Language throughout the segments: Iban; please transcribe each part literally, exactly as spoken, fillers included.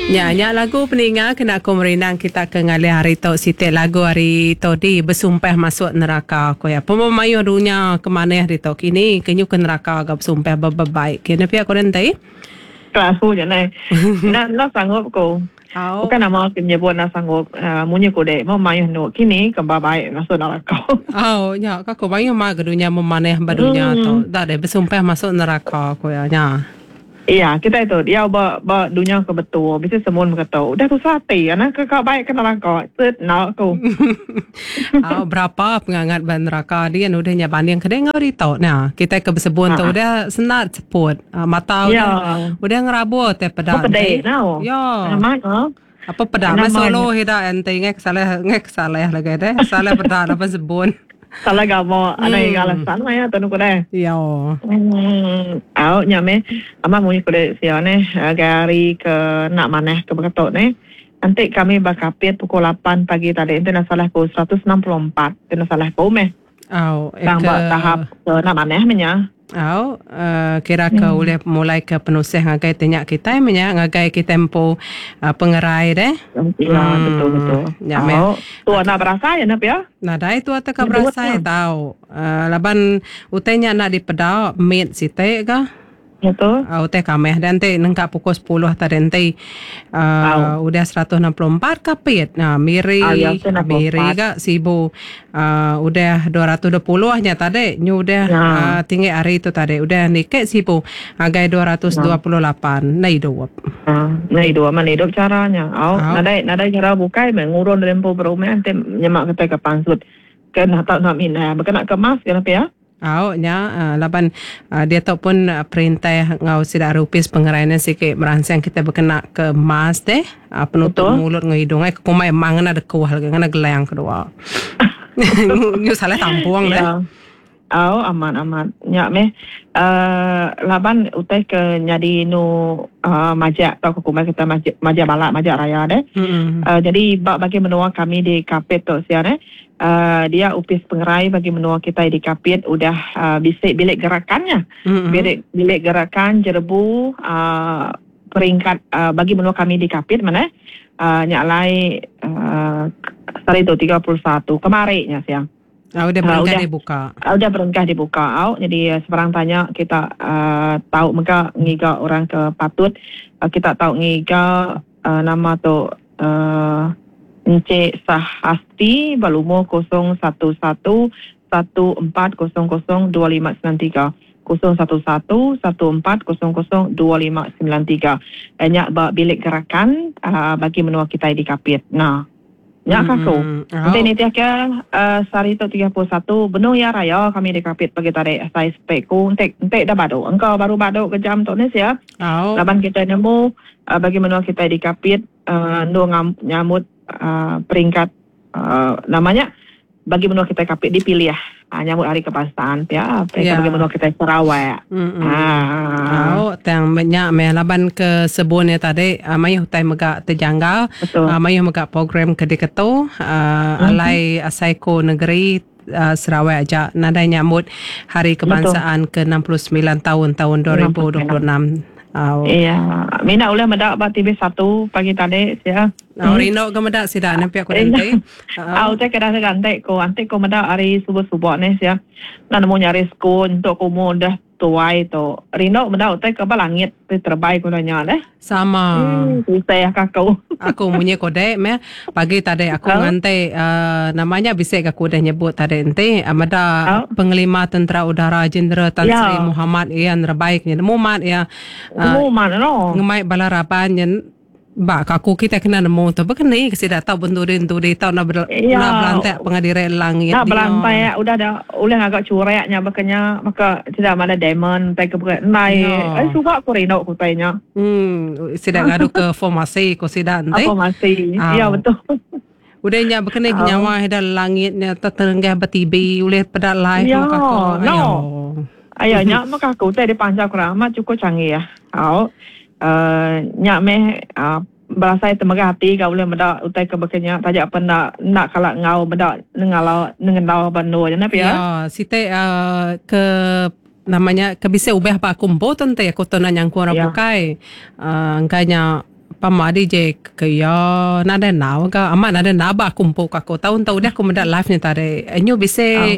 Nya nya lagu peninga kena aku merindang kita ke ngalih hari tu, siti lagu ari Todi, Besumpah Masuk Neraka ko iya. Pemayuh dunya ke manah ditu kini ke nyu ke neraka ga besumpah bebebaik kini pia ko enti. Aku je nai. Nak nak sanggup ko. Au. Bukan nama aku menyebut nak sanggup uh, munyi ko dek mau mayuh nu kini ke baik masuk neraka. Au nya ka ko mayuh ma ke dunya memanah ba dunya Hmm. tu. Dak deh besumpah masuk neraka ko iya nya. Iya, kita itu dia ba ba dunia ke betul. Bisa semua berkata, udah tu hati, anak ke kau baik ke neraka. Set nak aku. Au, berapa pengangat ba neraka dia udah nya banding ke ngau ditu nah. Kita ke bersebun tu Ha. udah senat seput. Ah, mata Ya. udah udah ngerabut te peda. Apa pedih enti. nau. Ya. Amat ha. Apa peda Nama mas solo hida enti ngai kesalah ngai kesalah lagi deh. Salah peda apa sebun. Salah gamo, ada yang alasan maya tu nuku deh. Ya. Hmm, au nya me. Amat munyi ku dek sia ne, hari ke nak manah ke berketuk ne. Nanti kami bakapit pukul lapan pagi tadi. Itu nak salah ku seratus enam puluh empat. Itu nak salah ku meh. Au, eh, Tang ke ba tahap ke nak manah menya. Au, uh, kira ke Hmm. ulih mulai ke penusah ngagai tinyak kita menya ngagai kita empu uh, pengerai deh. Ya, betul betul. Ya meh. Au, tu nak berasa ya nak ya. Nadai tu atau ka Betul. berasai tau. Uh, laban utainya nak dipeda mit site ka. Betul. Uh, utai kameh dan te nengkak pukul sepuluh tadi enti uh, udah seratus enam puluh empat kapit. Nah, Miri, Ah, ya, seratus enam puluh Miri empat. ka Sibu uh, udah dua ratus dua puluh nya tadi nyu udah Ya. uh, tinggi hari tu tadi udah nikek Sibu agai dua ratus dua puluh lapan na hidup. Ah, na hidup mana hidup caranya. Au, Au. nadai nadai cara bukai mengurun lempo berumah nanti nyemak kita ke pansut. Kena tak nak minah, bukan nak kemas kenapa ya? Au nya uh, laban uh, dia tu pun uh, perintah ngau sida rupis pengeraian sikit merangsang kita berkena ke mas deh uh, penutup Betul. mulut ngau hidung ai kumai mang ngena dekuah lagi ngena gelang kedua. Nyu salah tampung deh. Ya. Au, aman aman. Nya meh uh, laban utai ke nyadi nu uh, majak tau ke kumai kita majak, majak balak majak raya deh. Mm-mm. Uh, jadi bak bagi menua kami di Kapit tu sian eh. Uh, dia upis pengerai bagi menua kita di Kapit udah uh, bisik bilik gerakannya. Mm-mm. Bilik bilik gerakan jerebu uh, peringkat uh, bagi menua kami di Kapit mana uh, nyak lai uh, hari itu tiga puluh satu kemarinya siang. Ah, udah Ah, berengkah udah. dibuka. Uh, udah berengkah dibuka au. Jadi uh, sebarang tanya kita uh, tahu mega ngiga orang ke patut uh, kita tahu ngiga uh, nama tu uh, Encik Sahasti balumur kosong satu satu satu empat kosong kosong dua lima sembilan tiga kosong satu satu satu empat kosong kosong dua lima sembilan tiga. Banyak ba bilik gerakan uh, bagi menua kita di Kapit. Nah, nyak kaku. Mm, Nanti au. ni tiap ke uh, sehari tu tiga puluh satu benung ya raya kami di Kapit pagi tarik saya speku entek entek dah baru. Engkau baru baru ke jam tu ni sia. Au. Laban kita nemu uh, bagi menua kita di Kapit uh, nu ngam, nyamut uh, peringkat uh, namanya bagi menua kita Kapit dipilih uh, nyamut hari kebangsaan ya peringkat Ya. bagi menua kita Sarawak. Mm-mm. Ah. Au, tang banyak meh laban ke sebun ya tadi uh, mayuh utai mega terjanggal. Betul. Uh, mayuh mega program ke diketu uh, alai asaiko negeri uh, Sarawak aja nadai nyambut hari kebangsaan ke enam puluh sembilan tahun tahun dua ribu dua puluh enam. Au. Iya, mina ulah medak ba T V satu pagi tadi sia. Au rindu ke medak sida nampi aku nanti. Au teh kedah gantek ko, antek ko medak hari subuh-subuh ni sia. Nak nemu nyari skun untuk umur dah tuai tu. Rindu medak teh ke langit teh terbaik ko nanya deh. Sama. Hmm, susah kakau. Aku munyi kode meh pagi tadi aku Au. ngantai uh, namanya bisik aku dah nyebut tadi enti uh, meda Au. Penglima Tentera Udara Jeneral Tan Ya. Sri Muhammad Ian Rebaik nya nemu mat ya uh, Nemu mana no? ngemai bala raban nya bak aku kita kena nemu tu bekeni ke sida tau benturi-enturi tau nak ber, Ya. nak belantak pengadire langit Nak dia. belantai udah dah ulah agak cureknya bekenya maka tidak mana diamond tai ke berat nai. Ya. Eh suka aku rindu aku tanya. Hmm, sida ngadu ke formasi ko sida enti. Apa masih? Au. Ya betul. Udah nya bekeni Au. nyawa ida langitnya tertenggah bertibi ulih peda live Ya, muka aku. no. Ayo. Ayo nyak maka aku teh dipanjang kurang amat cukup canggih ya. Au. Uh, nyak meh uh, berasa temegah hati kau boleh medak utai ke bekenya tajak apa nak nak kalak ngau medak nengalau nengendau bando je napa ya. Ya, site uh, ke namanya ke bisa ubah apa aku empo tente aku tu nak nyangku orang Ya. bukai. Uh, engkanya Pama D J ke ya nadai nau ga amat nadai naba aku empu aku tahun tu udah aku meda live ni tadi. Nyu bisi oh.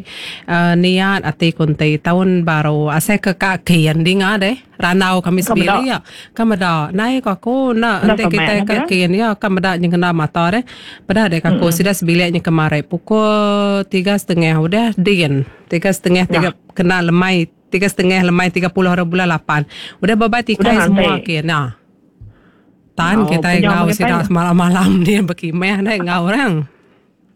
uh, niat ati kunti tahun baru asai ke kaki yang dinga deh. Ranau kami sendiri ya. Ka meda nai ko aku nak ente kita kaki ya ka meda nyeng kena mata deh. Pada dek aku sudah sebiliknya kemarin pukul tiga setengah udah din. Tiga setengah tiga kena lemai tiga setengah lemai tiga puluh hari bulan lapan. Udah bebai tikai semua ke nah. Tan oh, kita ngau sida semalam-malam dia berkimeh deh ngau orang.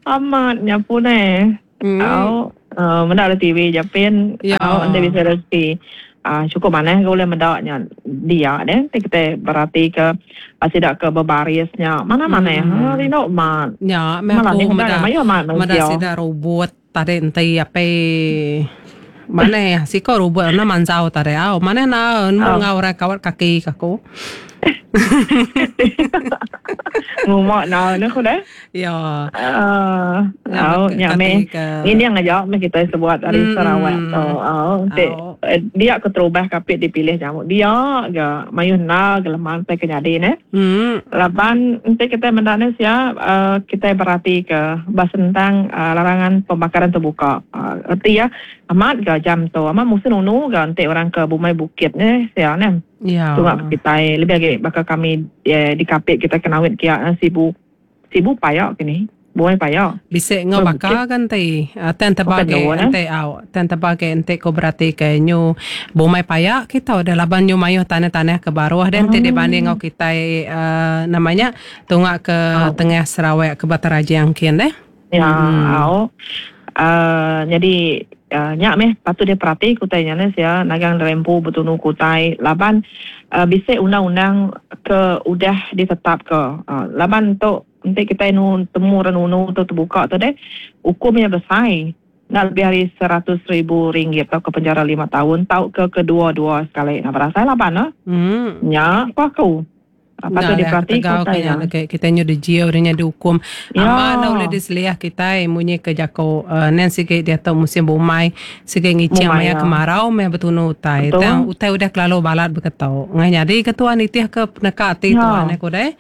Amat nyapu neh. Mm. Au uh, meda di T V japin au ente bisa rezeki. Ah uh, cukup manah ke boleh medaknya dia deh kita berarti ke sida ke berbarisnya mana-mana ya. Hmm. Rindu mat. Ya, meh aku meda. Meda sida robot tadi ente ape mana ya siko robot na manjau tadi au mana na nemu ngau orang kawat kaki aku. Ngumak na ne ku deh. Ya. Eh, au nya me. Ini yang aja me kita sebuat dari mm. Sarawak tu. Au te dia ke terubah kapit dipilih jamu. Dia ga mayuh na geleman te kenyadi ne. Hmm. Laban ente kita mendane sia uh, kita berarti ke bahas tentang uh, larangan pembakaran terbuka. Uh, erti ya amat ga jam tu amat musim nunu ga ente orang ke bumai bukit ne sia ne. Ya. Tungak kita lebih lagi bakal kami eh, di kapit kita kenawit kia sibu sibu payak kini buai payak. Bisa ngau bakal kan ti ten terbagi ente au ten terbagi ente ko berarti ke nyu bumai payak kita udah laban nyu mayuh tanah-tanah ke baruh dan ente dibanding ngau kita uh, namanya tungak ke oh. Tengah Sarawak ke Bataraja yang kian deh. Ya hmm. au uh, jadi Uh, nyak meh patut dia perhati kutai nya ne sia nagang rempu betunu kutai laban uh, bisa undang-undang ke udah ditetap ke uh, laban tu nanti kita nu temu renunu tu terbuka tu deh hukumnya besar nak lebih dari seratus ribu ringgit atau ke penjara lima tahun tau ke kedua-dua sekali nak berasa laban ah hmm. Nyak ku aku patut diperhati kutainya. Kita nyu dijiau dia dihukum. Ya. Aman boleh diseliah kita munyi ke jako uh, nen sikit dia tahu musim bumai sikit ngicing maya kemarau meh betunu utai. Tang utai udah kelalu balat berketau. Ngai jadi ketua nitih ke peneka ati tuan aku deh.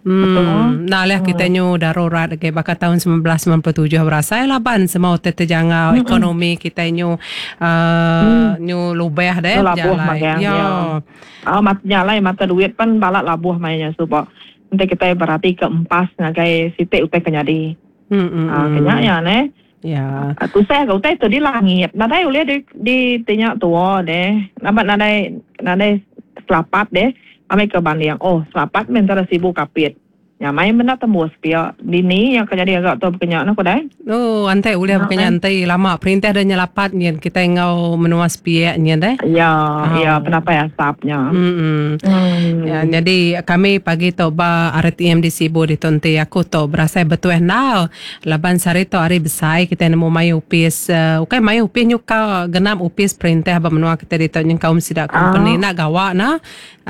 Hmm, nah lah kita nyu darurat ke bakal tahun sembilan belas sembilan puluh tujuh berasai laban semua utai terjangau mm-hmm. ekonomi kita nyu uh, mm. nyu lubeh deh labuh ya. Ya. Ah mat nyalai mata duit pan balak labuh mainnya sebab nanti kita berarti ke empas ngagai sitik utai kenyadi. Hmm. Ah kenya ya ne. Ya. Tu saya ke utai tu di langit. Nadai boleh di di tanya tua deh. Nampak nadai nadai selapat deh. Amai ke banding, oh selapat mentara sibuk kapit. Ya main benda tembus pia. Dini yang kejadi agak tu berkenyak nak kodai. Oh, antai boleh berkenyak antai lama perintah dah nyelapat nyen kita ngau menua sepiak nyen deh. Ya, oh. Ya penapai asapnya. Hmm. Hmm. Ya, jadi kami pagi tu ba R T M di Sibu di Tonti aku tu berasa betul nau. Laban sari tu hari besar kita nemu mayu upis uh, ukai mayu upis nyuka genap upis perintah ba menua kita di tu nyen kaum sidak company oh. nak gawak na.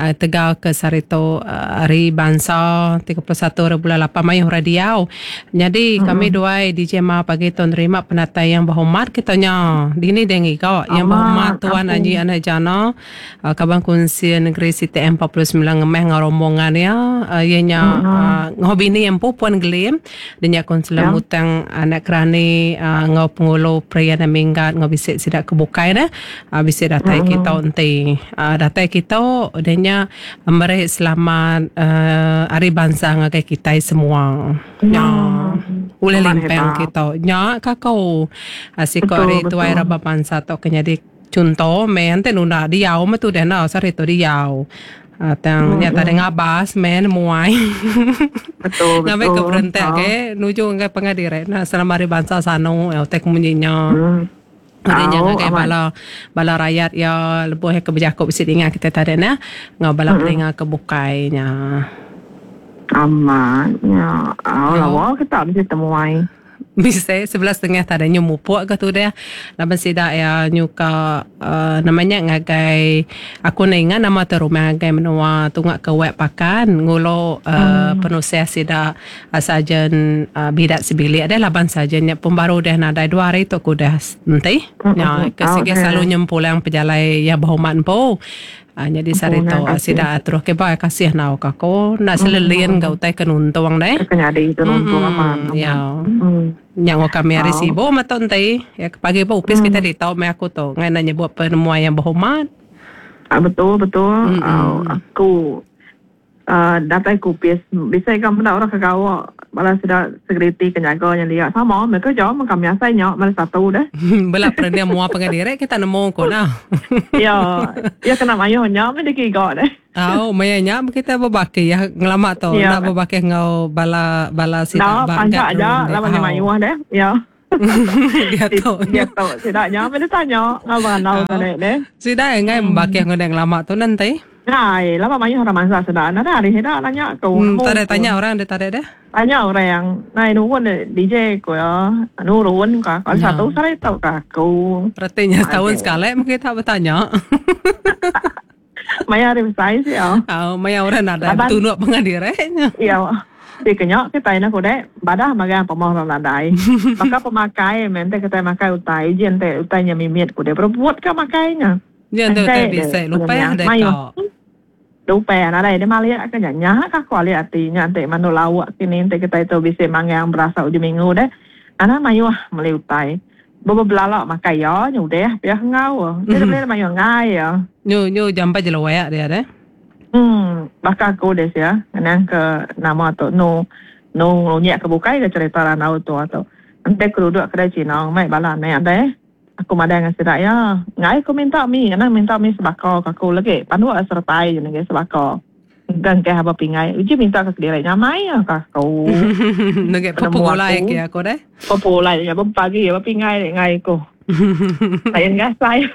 Uh, tegal ke sari tu uh, hari bangsa tiga puluh satu bulan lapan mayuh radio. Jadi hmm. kami duai D J Ma pagi tu nerima penatai yang berhormat kitanya. Dini dengi kau yang berhormat Tuan Haji Anak Jana uh, Kaban Kunsi Negeri C T M empat puluh sembilan ngemeh ngau rombongan ya. Uh, ianya uh, ngau bini yang puan gelim dan konselor ya. Mutang anak kerani uh, ngau pengulu pria dan minggat ngau bisik sidak kebukai dah. Uh, bisik datai hmm. kita enti. Uh, datai kita denya memberi selamat uh, hari bangsa ngagai kita semua. Ya. Boleh limpang kita. Nya kakau asiko hari tuai raba bangsa tok kena di contoh men te nuna diau metu dah na sari tu diau. Tang nya tadi ngabas men muai. Betul betul. Ngabai ke perentak ke nuju ngai pengadire. Nah selama hari bangsa sano tek munyinya. Hmm. Adanya oh, ngagai bala bala rakyat ya lebuh ke berjakop bisi ingat kita tadi nah ngau bala peninga ke bukainya. Aman ya. Oh, lawa kita mesti temuai. Bisa sebelas setengah tadi nyu mupuk ke tu dia. Laban sida ya nyu ka uh, namanya ngagai aku na ingat nama tu rumah ngagai menua tungak ke web pakan ngulo uh, hmm. penusia sida uh, sarjan uh, bidat sebilik ada laban sarjannya pun baru dah nadai dua hari tu aku dah nanti. Hmm. Ya ke sige Oh, selalu nyempulang pejalai ya berhormat po. Uh, jadi sehari tu sida terus ke ba kasih nau ka ko nak selelin ga utai ke nuntung deh. Kenyadi itu nuntung aman. Ya. Yang kami hari sibuk maton tei. Ya pagi ba upis kita di tau me aku tu ngai nak nyebut penemuan yang berhormat. Ah, betul betul. Uh, aku uh, datai kupis bisa kamu dak orang kagawa malah sudah security kenyaga yang dia sama mereka jauh kami asainya malah satu dah. Bela perendia mua pengadire kita nemu ko nah. Ya, ya kena mayo nya me dikiga deh. Oh, maya nya kita berbaki ya ngelama tu ya. Nak berbaki ngau bala bala sida bangga aja lama nya mayo deh. Ya. Dia tu dia tu sida nya me tanya ngau banau tadi deh. Sida ngai membaki ngau ngelama tu nanti. Hai, lama mayu orang mangsa sudah. Nada hari hida nanya aku. Hmm, tak ada tanya orang dia tak ada deh. Tanya orang, nai nurun D J ko ya, nurun ka. Kalau satu saya tahu ka aku. Artinya setahun sekali mungkin tak bertanya. Maya hari besar sih ya. Oh, maya orang ada tunuk pengadirenya. Iya. Di kenyok kita ini kuda badah magang pemoh orang nadai. Maka pemakai mente kita makai utai jen te utainya mimit kuda berbuat ke makainya. Jen te utai bisa lupa ya deh kau. Lupa ya nadai dia maliak ke nya kah kuali artinya ante manu lawak kini ante kita itu bisa mangang berasa ujung minggu deh. Anak mayuh meli utai. Bobo belalak makai ya nyudah biar ngau. Dia boleh mayuh ngai ya. Nyu nyu jampa jelawak dia deh. Hmm, bahkan aku deh ya, nang ke nama tu nu nu ngunyak ke bukai ke cerita ranau tu atau ante aku duduk kedai Cina mai bala ni ante. Aku madang dengan sidak ya. Ngai aku minta mi, nang minta mi sebako ke aku lagi. Pandu sertai je nang sebako. Engkang ke haba pingai. Uji minta ke kedai nyamai ya ke aku. Nang populai ke aku deh. Populai ya pagi ya pingai ngai aku. Lain gasai.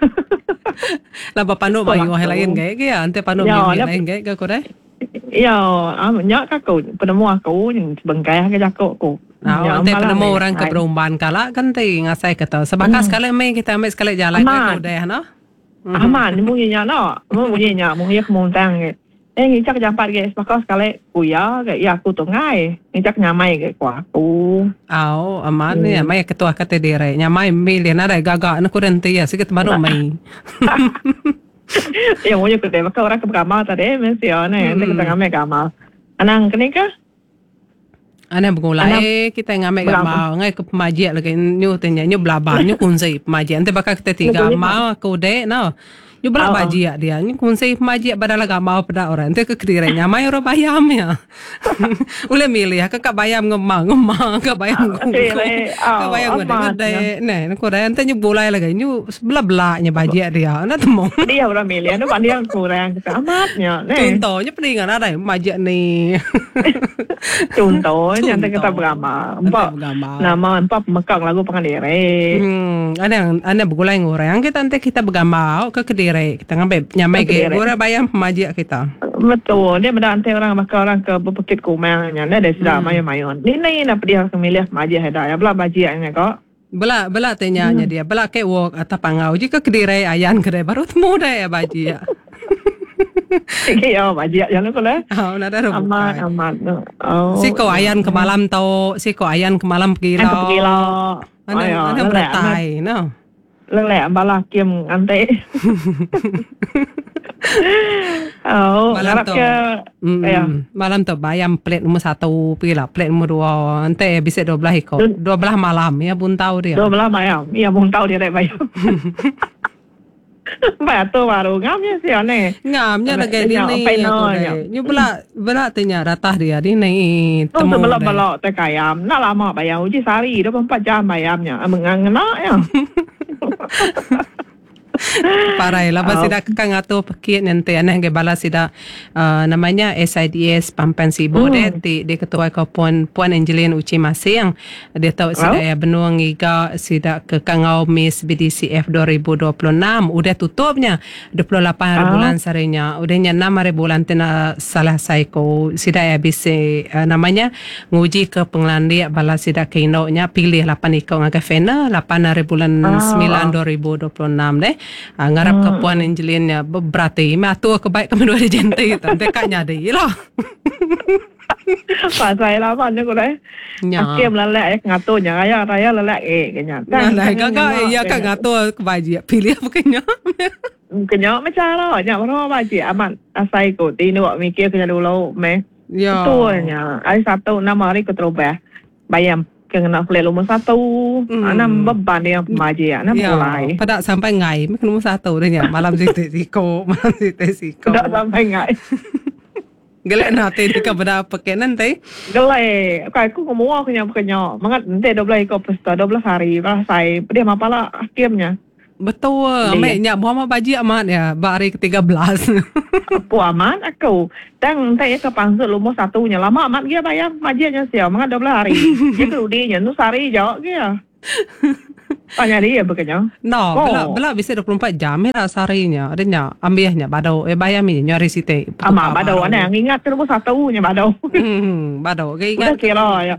Lah pandu mayu lain gaya ke ya, ante pandu mi lain gaya ke aku deh. Ya, nyak aku penemu aku yang sebengkai ke jakok aku. Nah, nanti penemu orang ke berumban kala kan ti ngasai kata. Sebab sekali mai kita ambil sekali jalan ke udah no. Aman bunyinya no. Bunyinya bunyi kemuntang ke. Eh ngicak jampat ke sebab sekali kuya ke ya aku tu ngai. Ngicak nyamai ke ku aku. Au, aman ya mai ketua kata dire. Nyamai milih nadai gagak nak kurang ti ya sikit baru mai. Ya bunyi ku teh maka orang ke bergamal tadi mesti ya ne. Nanti kita ngambil gamal. Anang kene ke? Ana bergulai kita ngambil gambar ngai ke pemajik lagi nyu tanya nyu belabang nyu kunci pemajik nanti bakal kita tiga mau aku dek no nyu belak bajik dia nyu kunci pemajik badal gambar pada orang nanti ke kedirenya mai orang bayam ya boleh milih ke kak bayam ngemang ngemang ke bayam ke bayam ngede ne ko dah nanti nyu bulai lagi nyu sebelah belaknya bajik dia nak temu dia orang milih nu dia kurang ke amatnya ne contohnya peningan ada pemajik ni contoh nanti kita bergambar. Empat nama empat pemekang lagu pengadire. Hmm, ada ada bergulai ngoreng kita nanti kita bergambar ke kedire kita ngambil nyamai ke gora bayam pemajik kita. Betul. Dia benda nanti orang bakal orang ke Bukit Kumangnya. Dia ada sudah mayu-mayu. Ni ni nak dia milih pemajik ada. Ya belah bajiknya kok. Bela bela tanya hmm. dia. Bela ke walk atau pangau jika kedire ayan kedai baru temu dah ya bajik. Ya, bajik jalan ko lah. Oh, nada ada aman, aman. Oh. Siko ayan ke malam tau, siko ayan ke malam pergi lah. Pergi lah. Ana ana bertai, no. Lelek bala kim ante. Oh, malam tu. Ya. Malam tu bayam plate nombor satu, pergi lah plate nombor dua. Ante bisa dua belah ekor. Dua belah malam ya buntau dia. Dua belah malam. Ya buntau dia rek bayam. Ba tu baru ngamnya sih ane. Ngamnya lagi ni ni. Nyu bela bela tanya ratah dia ni ni temu. Bela bela te kayam. Nak lama bayam uji sehari dua puluh empat jam bayamnya. Mengangena ya. Parai lah oh. Sida kang atu pekit nanti aneh ge bala sida uh, namanya S I D S Pampan Sibu hmm. Dia di di ketua ko Puan Puan Angeline Uci Masing dia tahu sida oh. Ya benuang iga sida ke kangau Miss B D C F dua ribu dua puluh enam udah tutupnya dua puluh lapan hari oh. bulan sarinya udahnya enam hari bulan tena salah saiko sida ya bisa uh, namanya nguji ke pengelandia bala sida ke indoknya pilih lapan ikong agak fena lapan hari bulan oh. sembilan dua ribu dua puluh enam deh. Uh, ngarap hmm. ke Puan Angeline ya berarti matu kebaik kami dua jenti nanti kaknya di lah. Pasal lah mana ko deh. Akim lelek ngatunya raya raya lelek eh kenya. Nah, kakak ya kak ngatur kebaji pilih apa kenya. Kena macam lah. Nyak baru bajik amat asai ko. Tinduk mikir kena dulu meh. Ya. Betulnya. Hari satu nama hari keterubah. Bayam kena pelik nombor satu. Hmm. Enam beban dia pemajik. Enam ya. Mulai. Pada sampai ngai. Meh nombor satu dia nya. Malam sitik siko. Malam sitik siko. Pada sampai ngai. Gelak nanti dia kepada pakai nanti. Gelak. Aku aku ngomong aku nyam kena. Mangat nanti dua belas ekor peserta dua belas hari. Berasai. Dia mapala hakimnya. Betul. Amek nyak buah baju amat ya. Bak hari ketiga belas. Apa amat aku. Tang tak ya ke pangsut lumur satunya. Lama amat dia bayar majiknya siap. Mangat dua belas hari. Dia kerudinya. Nu sehari jauh dia. Tanya dia berkenya. No, oh. Belak belak bisa dua puluh empat jam ya seharinya. Ada nyak ambilnya badau. Eh bayar mi nyari site. Ama badau ana ingat lumur satunya badau. Hmm, badau. Ke ingat udah kira ya.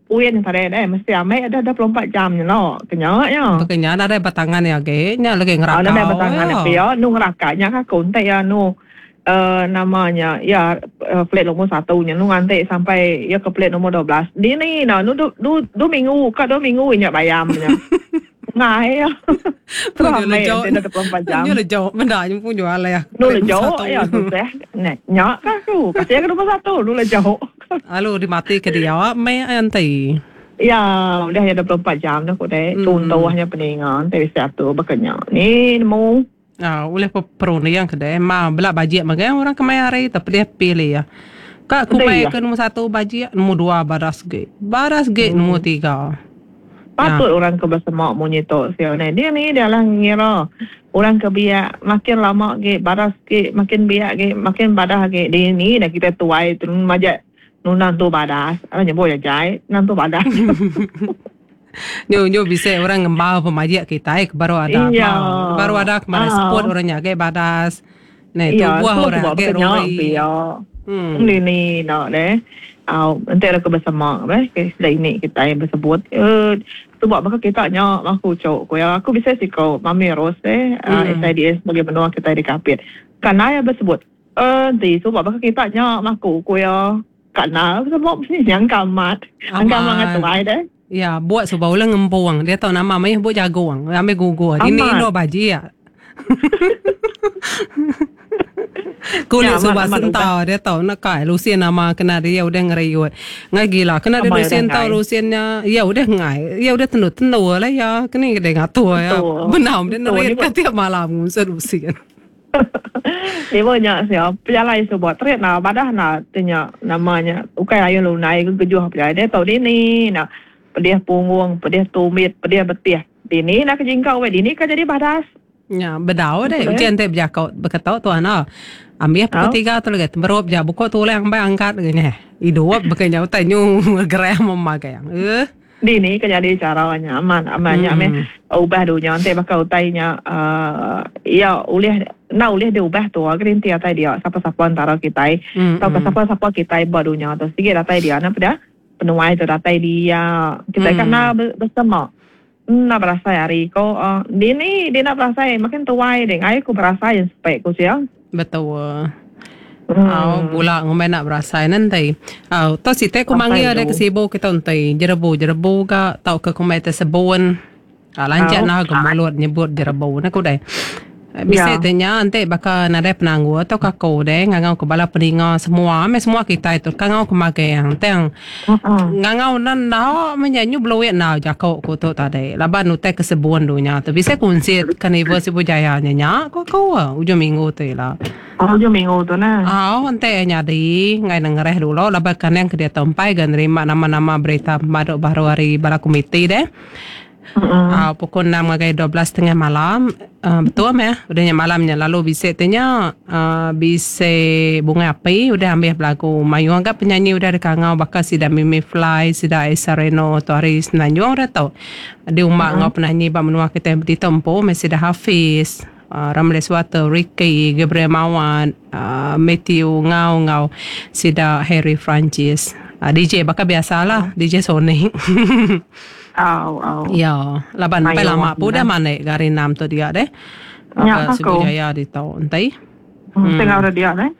Uin tadi deh mesti ambil ada dua puluh empat jam ni lo. Kenya ya. Kenya ada batangan ya ke. Nya lagi ngerakau. Ada batangan ya. Nu ngerakanya aku entek ya nu uh, namanya ya uh, plate nombor satunya nu ngantik sampai ya ke plate nombor dua belas. Di ni nah nu du du, du minggu ke dua minggu inyak bayamnya. Ngai ya. Punya lejauh. dua puluh empat jam. Punya lejauh. Benda ni punya alai ya. Nu lejauh ya susah. Nek nyak aku. Kasih ke nombor satu nu lejauh. Lalu dimati ke dia meh nanti. Ya, udah ya dua puluh empat jam dah aku deh. Contohnya peningan tapi satu berkenya. Ni nemu. Ah, oleh perun yang kedai ma belak bajik magang orang kemai hari tapi dia pilih ya. Kak kumai ke nombor satu bajik, nombor dua baras ge. Baras ge nombor tiga. Patut ya. Orang ke bersemak munyi tok sial ni. Dia ni dia lah ngira orang ke biak makin lama ge baras ge makin biak ge makin badah ge. Dia ni dah kita tuai turun majak nunang tu badas. Apa nyebut ya jai, nang tu badas. Nyo nyo bisa orang ngembau pemajik kita eh baru ada. Iya. Baru ada kemarin ah. Sport orangnya ge badas. Nah, tu iya, buah orang ge rori. Hmm. Ni ni nak deh. Au, nanti ada kebersamaan, eh, ke ini kita yang bersebut. Eh, sebab maka kita nya aku cok ko ya. Aku bisa siko Mami Rose eh hmm. S I D S bagi menua kita di Kapit. Karena ya bersebut. Eh, nanti sebab maka kita nya aku ko ya. Karena sebab ni yang kamat. Angkat mangat tuai deh. Ya, buat sebab ulang ngembuang. Dia tahu nama mai buat jagoang. Ambil gugur. Ini no baji ya. Kulit ya, sebab sentau dia tahu nak kai Lucien nama kena dia udah ngeriut. Ngai gila kena dia Lucien tahu Luciennya ya udah ngai. Ya udah tenu tenu lah ya. Kena dia ngatur ya. Benar dia nerit tiap malam ngusir Lucien. Ni banyak siap pejalai sebuah tret nah badah nah tanya namanya ukai ayun lunai ke kejuh pejalai dia tahu ni nah pedih punggung pedih tumit pedih betih dini nak kejingkau we dini kan jadi badas. Ya, bedau deh. Ujian teh berjakau berkata tuan ah. Ambil pukul tiga tu lagi temberup je buku tulang sampai angkat gini. Hidup bukannya utai nyu gerah memakai yang. Eh. Dini kan jadi caranya aman amannya hmm. Meh ubah dunia nanti bakal utainya uh, ya ulih nak ulih dia ubah tu agar nanti atai dia siapa-siapa antara kita hmm. atau hmm. siapa-siapa kita buat dunia tu sikit datai dia nak pada penuai tu datai dia kita hmm. kan nak bersama nak berasa hari ko uh, dia ni dia nak berasa makin tuai deng ai aku berasa yang spek ku siang betul. Hmm. Oh, pula ngomel nak berasa nanti. Oh, tu si teh ku manggil ada kesibuk kita nanti. Jerebu jerebu ka tau ke kumai tersebun. Ah, lanjut nah ke mulut nyebut jerebu nak ku dai. Bisa Ya. tanya nanti bakal nadai penanggu atau kako deh ngangau ke bala peninga semua, me semua kita itu kangau ke makai yang teng Uh-uh. ngangau nan nao menyanyi beluit nao jakok ku tu tadi. Laban utai kesebun dunya tu bisa kunci karnival Sibu Jaya nya ko ko ujung minggu tu lah. Oh, ujung minggu tu nah. Oh, nanti nyadi ngai nengereh dulu laban kan yang ke dia tompai gan nerima nama-nama berita maduk baru hari bala komiti deh. Uh-uh. Uh, pukul enam sampai dua belas setengah malam uh, betul ya udahnya malamnya lalu bisa tanya uh, bisa bunga api udah ambil belagu mayu anggap penyanyi udah dikangau bakal sida Mimi Fly sida Aisa Reno tu hari Senanjung udah tau di umak uh-huh. ngau penyanyi bak menua kita di tempo mesti dah Hafiz uh, Ramles Water Ricky Gabriel Mawan uh, Matthew ngau ngau sida Harry Francis uh, D J bakal biasalah D J Sonic. Oh, oh. Ya, laban sampai lama pun dah mana gari enam tu dia deh. Ya, Sibu Jaya di tau entai. Hmm. Tengah udah dia deh.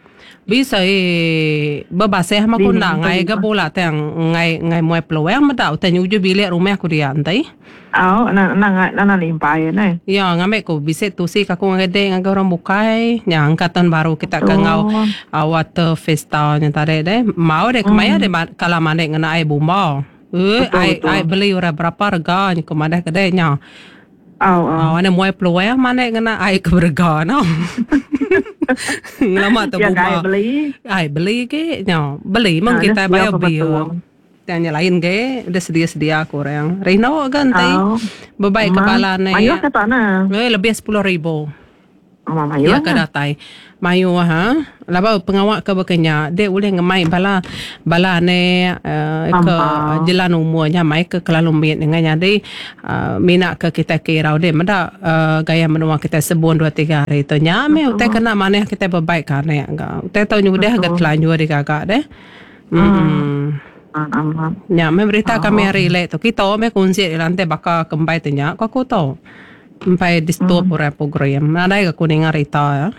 Bisa eh bebaseh mah ku enda ngai ga bula tang ngai ngai muai peluang meda utai nyuju bilik rumah ku dia enti. Au na na na na limpai ne. Ya ngambi ku bisi tusi ka aku ngagai dek ngagai orang bukai nya angka tahun baru kita ke enggau water fiesta nya tadi deh. Mau deh kemaya deh kala mandi ngena ai bomba. Eh ai ai beli orang berapa rega nya ku madah ke dek nya. Au au. Au ane muai peluang mandi ngena ai ke berega no. Ngelama tu Ya buma. Ai beli. Ai beli ke nya. Beli meng Ah, kita dia bayar sedia bil. betul. Tang nya lain ke dia sedia-sedia ke orang. Rino ga enti Au. bebaik ke Ma, bala ne. Mayuh ke tak na? Eh, lebih sepuluh ribu. Oh, mayuh Ya ke na. datai. Mayuh ha. Laba pengawa ke bekenya dia boleh ngemai bala bala ne uh, ke Sampah. jelan umurnya mai ke kelalu mit dengan jadi uh, mina ke kita ke irau dia meda uh, gaya menua kita sebun dua tiga hari tu nya me utai kena maneh kita berbaik kan ya ga. Utai tau nyudah ga telanjur digagak deh. Hmm. Ah, amat. Nya me berita kami hari lek tu kita me kunci di lantai baka kembai tu nya ko aku tu. Empai di stop orang program. Nadai ke kuning rita ya.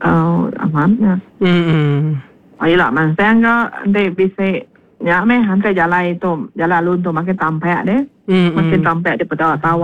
Oh, amat ya. Hmm. Oh, ila mansang ke nanti bisa ya meh hantar jalan itu jalan alun tu makin tampak deh. Hmm. Makin tampak di pada tawa.